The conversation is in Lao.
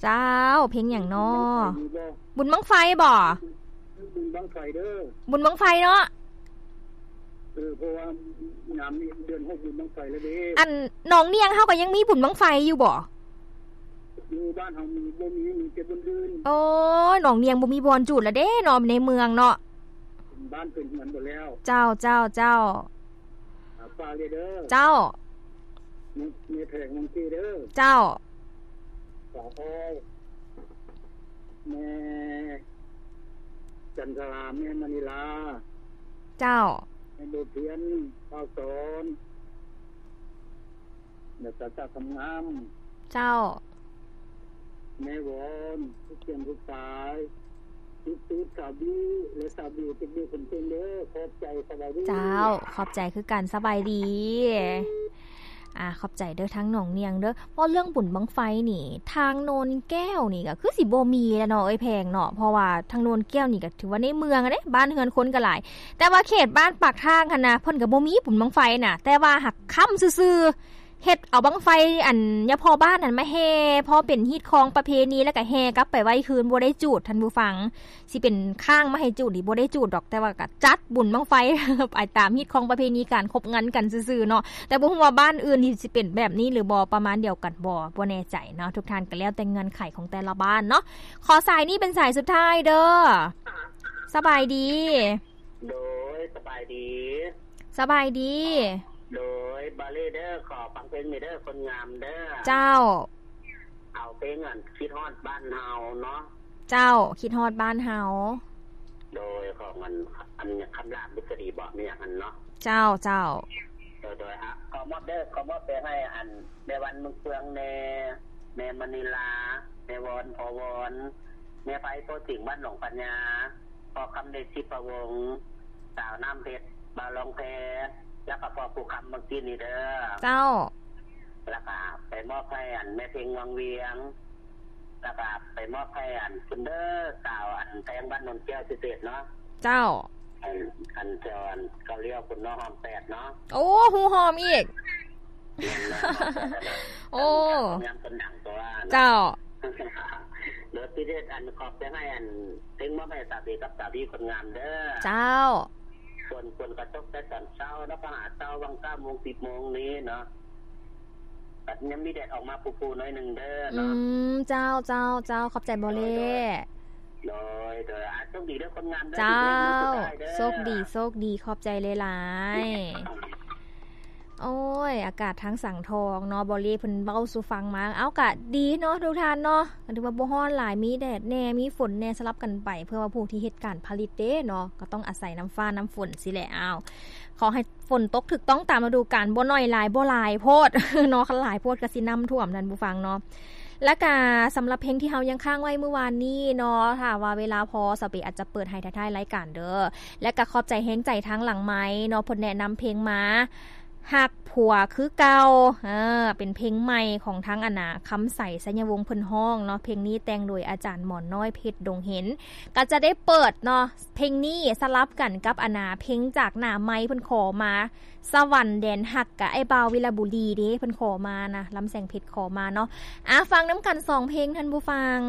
ເຈົ້າ ເພງຫຍັງນໍ? ບຸນບັ້ງໄຟຢູ່ບໍ່? ບຸນບັ້ງໄຟບໍ? ບຸນບັ້ງໄຟເດີ ບຸນບັ້ງໄຟເນາະ. ເອີ ເພາະວ່າຍາມນີ້ເດືອນຫົກບຸນບັ້ງໄຟແລ້ວເດ້. ອັນໜອງນຽງເຮົາກໍຍັງມີບຸນບັ້ງໄຟຢູ່ບໍ່? ຢູ່ບ້ານເຮົາມີ ບໍ່ມີ ມີແຕ່ບຸນອື່ນ. ໂອ້ຍ ໜອງນຽງບໍ່ມີບ່ອນຈູດແລ້ວເດ້ເນາະ ໃນເມືອງເນາະ ເປັນບ້ານເປັນເຮືອນໝົດແລ້ວ. ເຈົ້າ ເຈົ້າ ເຈົ້າ. ຝາກເລີຍເດີ. ເຈົ້າ. ແມ່ ແມ່ແພງວັງກີເດີ. ເຈົ້າ. ສາວອ້ອຍ ແມ່ຈັນທະລາ ແມ່ມະນີລາ. ເຈົ້າ. ແມ່ບົວພຽນ ພາວສອນ ແລ້ວກໍສາວຄຳງາມ. ເຈົ້າ. ແມ່ວອນ ຜູ້ຂຽນຜູ້ຂາຍ ສຸດໆ ສາວບິວ ແລະ ສາວບິວ ເປັນເດັກເປັນເປັນເດີ. ຂອບໃຈ ສະບາຍດີ. ເຈົ້າ ຂອບໃຈຄືກັນ ສະບາຍດີ. ອ່າ ຂອບໃຈເດີ ທາງໜອງນຽງເດີ. ເວົ້າເລື່ອງບຸນບັ້ງໄຟນີ້ ທາງໂນນແກ້ວນີ້ກໍຄືຊິບໍ່ມີແລ້ວເນາະ ເອີຍແພງເນາະ ເພາະວ່າທາງໂນນແກ້ວນີ້ກໍຖືວ່າໃນເມືອງເດ້ ບ້ານເຮືອນຄົນກໍຫຼາຍ ແຕ່ວ່າເຂດບ້ານປາກທາງຫັ້ນນະ ເພິ່ນກໍບໍ່ມີບຸນບັ້ງໄຟນະ ແຕ່ວ່າຫາກຄ້ຳຊື່ໆ ເຮັດເອົາບັ້ງໄຟ ອັນ ຍາພໍ່ບ້ານນັ້ນມາແຫ່ ພໍເປັນຮີດຄອງປະເພນີ ແລ້ວກໍແຫ່ກັບໄປໄວ້ຄືນ ບໍ່ໄດ້ຈູດ ທ່ານຜູ້ຟັງ. ຊິເປັນຄ້າງມາໃຫ້ຈູດນີ້ບໍ່ໄດ້ຈູດດອກ ແຕ່ວ່າກໍຈັດບຸນບັ້ງໄຟ ໄປຕາມຮີດຄອງປະເພນີການຄົບງັນກັນຊື່ໆເນາະ. ແຕ່ບໍ່ຮູ້ວ່າບ້ານອື່ນນີ້ຊິເປັນແບບນີ້ຫຼືບໍ່ ປະມານດຽວກັນບໍ່ ບໍ່ແນ່ໃຈເນາະ. ທຸກທ່ານກໍແລ້ວແຕ່ເງື່ອນໄຂຂອງແຕ່ລະບ້ານເນາະ. ຂໍສາຍນີ້ເປັນສາຍສຸດທ້າຍເດີ. ສະບາຍດີ. ໂດຍ ສະບາຍດີ. ສະບາຍດີ. ໂດຍ ບາເລເດີ ຂໍຟັງເພງນີ້ເດີ ຄົນງາມເດີ. ເຈົ້າ. ເອົາເພງອັນຄິດຮອດບ້ານເຮົາເນາະ. ເຈົ້າ ຄິດຮອດບ້ານເຮົາ. ໂດຍ ຂອງອັນ ອັນຄຳລາດ ບຸດສະດີບໍ ມີຫຍັງຫັ້ນເນາະ. ເຈົ້າ ເຈົ້າ. ໂດຍ ໂດຍ ອະ ຂໍມອບເດີ ຂໍມອບໄປໃຫ້ອັນແມ່ວັນເມືອງເຟືອງແດ່ ແມ່ມະນີລາ ແມ່ວອນ ພໍ່ວອນ ແມ່ໄພ ໂພຈິງ ບ້ານໜອງພະຍາ ພໍ່ຄຳເດດ ທິບພະວົງ ສາວນ້ຳເພັດ ບ່າວລອງແພ ແລ້ວກໍພໍ່ພູຄຳ ເມື່ອກີ້ນີ້ເດີ. ເຈົ້າ. ແລ້ວກໍໄປມອບໃຫ້ອັນແມ່ເພັງວັງວຽງ ແລ້ວກໍໄປມອບໃຫ້ອັນພຸ້ນເດີ ສາວອັນແພງ ບ້ານໂນນແກ້ວ ເສດເນາະ. ເຈົ້າ. ອັນ ອັນແຖວອັນເກົາລ້ຽວພຸ້ນເນາະ ຫ້ອມແປດເນາະ. ໂອ້ ຮູ້ຫ້ອມອີກ. ແມ່ນເນາະ ຫ້ອມແປດເນາະ. ໂອ້ ງາມຄົນດັງຕົວເນາະ. ເຈົ້າ. ໂດຍພິເສດ ອັນ ຂອບໃຈໃຫ້ອັນ ເພງມອບໃຫ້ສາວເບກັບສາວບີຄົນງາມເດີ. ເຈົ້າ. ຝົນ ຝົນກໍຕົກແຕ່ຕອນເຊົ້າເນາະ ພາຫາເຊົ້າ ຫວ່າງເກົ້າໂມງ ສິບໂມງນີ້ເນາະ ກໍຍັງມີແດດອອກມາຟູໆ ໜ້ອຍໜຶ່ງເດີເນາະ. ອືມ ເຈົ້າ ເຈົ້າ ເຈົ້າ ຂອບໃຈບໍ່ເລ. ໂດຍ ໂດຍ ໂດຍ ອາ ໂຊກດີເດີຄົນງາມເດີ. ເຈົ້າ ໂຊກດີ ໂຊກດີ ຂອບໃຈຫຼາຍໆ. ໂອ້ຍ ອາກາດທາງສັງທອງເນາະ ບໍລີເພິ່ນເວົ້າສູ່ຟັງມາ ເອົາ ກະດີເນາະທຸກທ່ານເນາະ ກໍຖືວ່າບໍ່ຮ້ອນຫຼາຍ ມີແດດແດ່ ມີຝົນແດ່ ສະຫຼັບກັນໄປ ເພື່ອວ່າຜູ້ທີ່ເຮັດການຜະລິດເດ້ເນາະ ກໍຕ້ອງອາໄສນ້ຳຟ້ານ້ຳຝົນຊີ້ແຫຼະ. ເອົາ ຂໍໃຫ້ຝົນຕົກຖືກຕ້ອງຕາມລະດູການ ບໍ່ໜ້ອຍຫຼາຍ ບໍ່ຫຼາຍໂພດເນາະ ຄັນຫຼາຍໂພດກໍຊິນ້ຳຖ້ວມ ທ່ານຜູ້ຟັງເນາະ. ແລ້ວກະສຳລັບເພງທີ່ເຮົາຍັງຄ້າງໄວ້ມື້ວານນີ້ເນາະ ຖ້າວ່າເວລາພໍ ສາວເບອາດຈະເປີດໃຫ້ທ້າຍໆ ລາຍການເດີ. ແລະກະຂອບໃຈແຮງໃຈທາງຫຼັງໄມເນາະ ເພິ່ນແນະນຳເພງມາ ຮັກຜົວຄືເກົ່າ ເອີ ເປັນເພງໃໝ່ຂອງທາງ ອັນນາ ຄຳໃສ ໄຊຍະວົງ ເພິ່ນຮ້ອງເນາະ. ເພງນີ້ແຕ່ງໂດຍອາຈານໝໍນ້ອຍ ເພັດດົງເຫັນ. ກໍຈະໄດ້ເປີດເນາະ ເພງນີ້ສະຫຼັບກັນກັບ ອັນນາ ເພງຈາກໜ້າໄມ ເພິ່ນຂໍມາ ສະຫວັນແດນຮັກ ກະອ້າຍບ່າວວິລະບູລີເດ້ ເພິ່ນຂໍມານະ ລຳແສງເພັດຂໍມາເນາະ. ອາ ຟັງນຳກັນສອງເພງ ທ່ານຜູ້ຟັງ.